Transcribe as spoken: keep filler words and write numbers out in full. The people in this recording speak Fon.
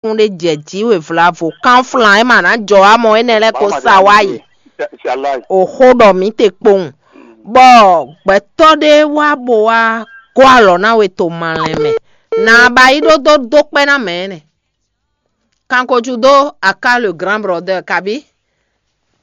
kún ɖé jɛ jǐ we vlavo kánflan é ma ná jɔ wá mɔ énɛ́ lɛ́ɛ kó sa wá yi. Oxó ɖɔ mǐ te kpowun, bɔ gbɛtɔ́ ɖé wá bo wá gɔ́ alɔ ná we to malɛn mɛ. Nǎ ba yi ɖó dó dó kpɛ́ ná mɛ énɛ́. Kankojú dó aká le grand brother kabí.